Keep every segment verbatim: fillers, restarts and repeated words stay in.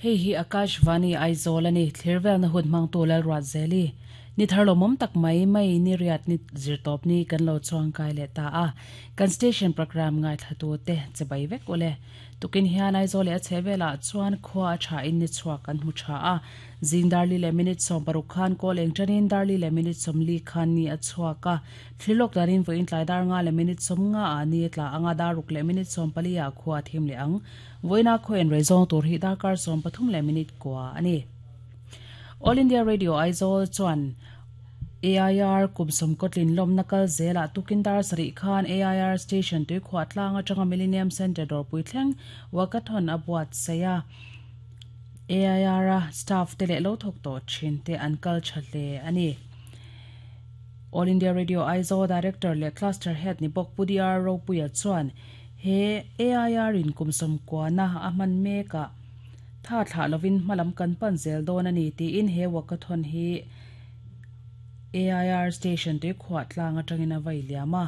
Hei hi Akashvani Aizawl ani thlirvel na hun hmang tu Lalruatzeli ni tharlo mom tak mai mai ni riat ni zirtawp ni kan lo chuang kai leh ta a kan station program ngai thlatu te chebai vek ule tukin hian Aizawl leh a chhehvelah chuan khua a tha in ni chhuak kan hmu tha a zing darli leh minute sawm paruk khan kawl eng tanin darli leh minute sawm li khan ni a chhuak a thlilawk danin vawiin tlai dar nga leh minute sawm nga a ni tla anga daruk leh minute sawm pali ah khua a thim leh ang vawiina khaw en rei zawng tur hi darkar sawm pathum leh minute kua ani. All India Radio Aizawl chuan A I R kumsawm kotlin lawm nakal zela tukin dar sarih khan A I R station tui khuah tlang atanga Millennium Centre dawrpui thleng walkathon a buat saia A I R a staff te leh lo thawk tawh thin te an kal tha hle ani. All India Radio Aizawl Director leh Cluster Head ni bawk Pu D R Ropuia chuan he A I R in kumsawm kuana a hman meka tha thla lovin hmalam kan pan zel dawn ani tiin he walkathon hi A I R station tui khuah tlang atangin a vai liama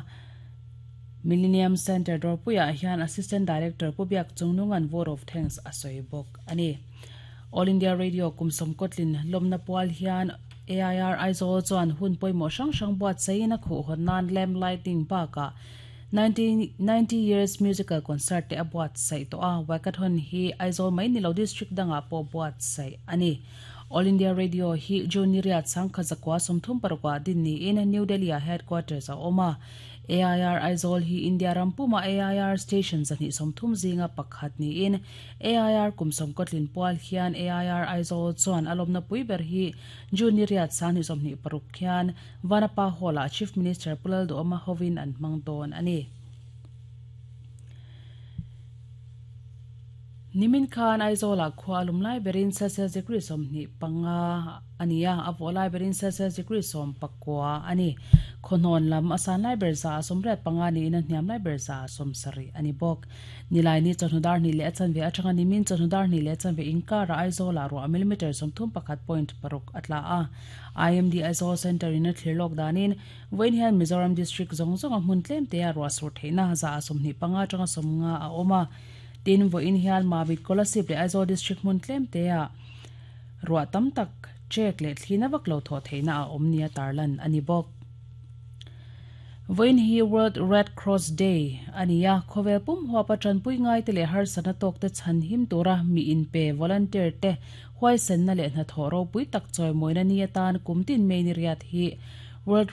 Millennium Centre dawrpuiah hian Assistant Director Pu Biak Chungnungan vote of thanks a sawi bawk ani. All India Radio kumsawm kotlin lawmna pual hian A I R Aizawl chuan hun pawimawh hrang hrang buat saiin a khuh hawn nan lamp lighting bakah ninety years musical concert te a buat sai to a walkathon hi Aizawl mai nilo district danga pawh buat sai ani. All India Radio hi June ni riat sangkha zakwa sawmthum parukah din niin New Delhi a headquarters a awm a. A I R Aizawl hi India rampuma A I R station zahnih sawmthum zinga pakhat niin A I R kumsawm kotlin pual hian A I R Aizawl chuan a lawmna pui ber hi June ni riat sanghnih sawmhnih paruk hian Vanapa Hall-ah Chief Minister Pu Lalduhoma hovin an hmang dawn ani. Nimin khan Aizawl ah khua alum lai berin Celsius degree sawmhnih panga ania a vawh lai berin Celsius degree sawm pakua ani. Khawhnawn lam a san lai ber za a sawmriat panga niin a hniam lai ber za a sawm sarih ani bawk. Nilai ni chawhnu dar hnih leh a chanve atanga nimin chawhnu dar hnih leh a chanve inkar ah Aizawl ah ruah millimeter sawmthum pakhat point paruk a tla a. I M D Aizawl Centre in a thlirlawk danin vawiin hian Mizoram district zawng zawng a hmun tlem te a ruah sur theihna za a sawmhnih panga atanga sawmnga a awm a. Tin vawiin hian Mamit Kolasib leh Aizawl district hmun tlem te a ruah tam tak chek leh thlina vak lo thaw theihna a awm nia tarlan ani bawk. Vawiin hi World Red Cross Day ania khawvel pum huapa tanpui ngai te leh harsana tawk te chhan him tura mi in pe volunteer te huaisen na leh hna thaw ropui tak chawi mawina ni atan kumtin mei ni riat hi World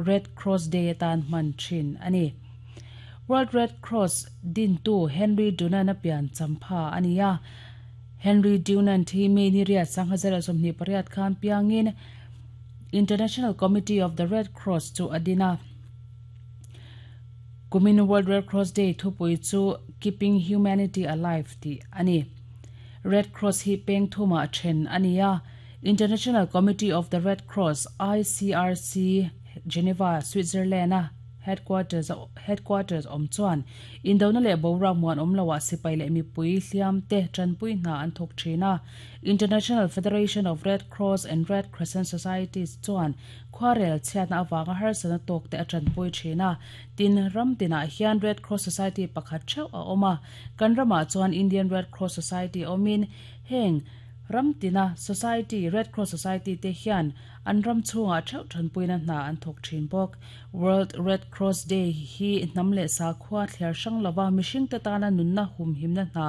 Red Cross Day atan hman thin ani. World Red Cross din tu Henry Dunant a pian champha ania Henry Dunant hi mei ni riat sangha zera sawmhnih pariat khan piangin International Committee of the Red Cross chu adina. Kumin World Red Cross Day thupui chu Keeping Humanity Alive ti ani. Red Cross hi peng thuma then ania International Committee of the Red Cross I C R C Geneva Switzerland a headquarters headquarters om chuan indona leh boruak muan awm loah sipai leh mipui hliam te tanpui hna an thawk thin a. International Federation of Red Cross and Red Crescent Societies chuan khuarel chhiatna awanga harsana tawk te a tanpui thin a. Tin ram tinah hian Red Cross Society pakhat theuh a awm a. Kan ramah chuan Indian Red Cross Society awmin heng ramtina Society Red Cross Society te hian an ram chhungah theuh thanpuina hna an thawk thin bawk. World Red Cross Day hi hnam leh sakhua thler hrang lova mihring te tana nunna hum himna hna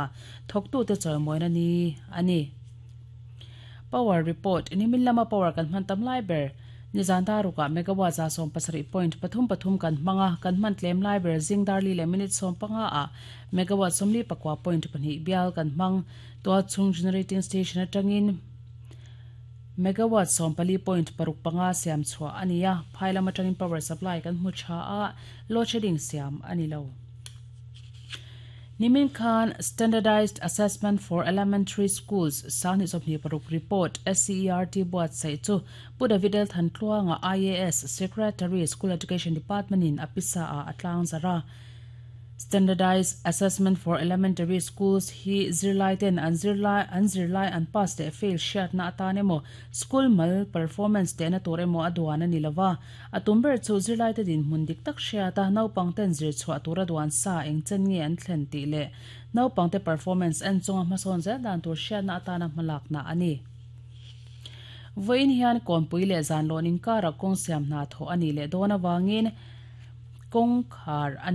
thawktu te chawimawina ni ani. Power report nimin lama power kan hman tam lai ber nizan daruka megawatt za sawm pasarih point pathum pathum kan hmanga kan hman tlem lai ber zing darli leh minute sawm panga a megawatt sawmli pakua point pahnih bial kan hmang tua chung generating station atangin megawatt sawm pali point paruk panga siam chhuah ania phailam atangin power supply kan hmu tha a load shedding siam ani lo. Nimin khan Standardized Assessment for Elementary Schools sanghnih sawmhnih paruk report S C E R T buat sai chu Pu David L Thantluanga I A S Secretary School Education Department in apisa a atlang zara. Standardized Assessment for Elementary Schools hi zirlai ten an zirlai an zirlai an pass leh fail hriatna atan emaw school mal performance tehna tur emaw a duan a ni lova a tum ber chu zirlai te dinhmun dik tak hriata naupang ten zir chhuah tura duan sa eng chen nge an thlen tih leh naupang te performance en chunga hmasawn zel dan tur hriatna atana hmalakna a ni. Vawiin hian kawnpui leh zanlawn inkara kawng siam hna thawh a nih leh dawn awangin kawng khar a